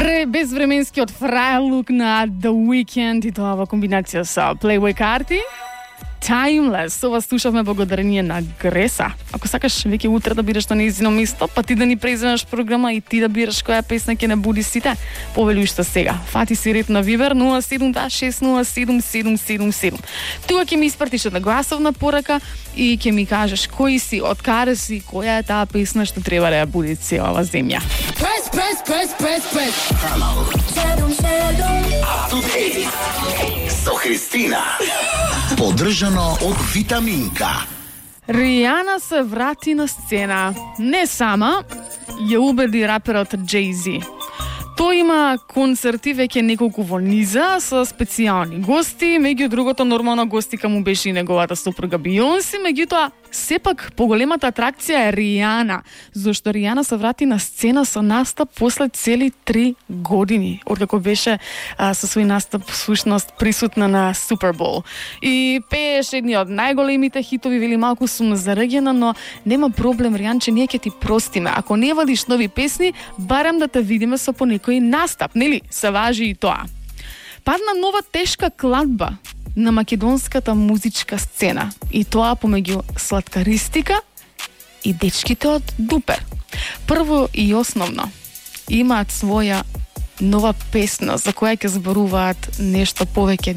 Безвременскиот фрајлук на The Weeknd и тоа во комбинација со Playboi Carti. Timeless, ова слушавме благодарение на Греса. Ако сакаш веќе утре да бидеш на нејзино место, па ти да ни преземеш програма и ти да бираш која песна ќе не буди сите, повели уште сега. Фати си ред на Вибер 072607777. Тука ќе ми испратиш една гласовна порака и ќе ми кажеш кој си, од каде си, која е таа песна што треба да ја буди целава земја. Прес. Со Христина. Поддржано од Витаминка. Ријана се врати на сцена. Не сама, ја убеди раперот Jay-Z. Тој има концерти веќе неколку во низа со специјални гости, меѓу другото нормално гостика му беше и неговата сопруга Бионси, меѓутоа сепак поголемата атракција е Ријана, зашто Ријана се врати на сцена со настап после цели 3 години, откако беше со свој настап всушност присутна на Супербол. И пееше едни од најголемите хитови, вели малку сум зарегена, но нема проблем Ријанче, ние ќе ти простиме. Ако не вадиш нови песни, барем да те видиме со по некој настап, нели? Се важи и тоа. Падна нова тешка кладба на македонската музичка сцена. И тоа помеѓу Сладкаристика и дечките од Дупер. Прво и основно, имаат своја нова песна за која ќе зборуваат нешто повеќе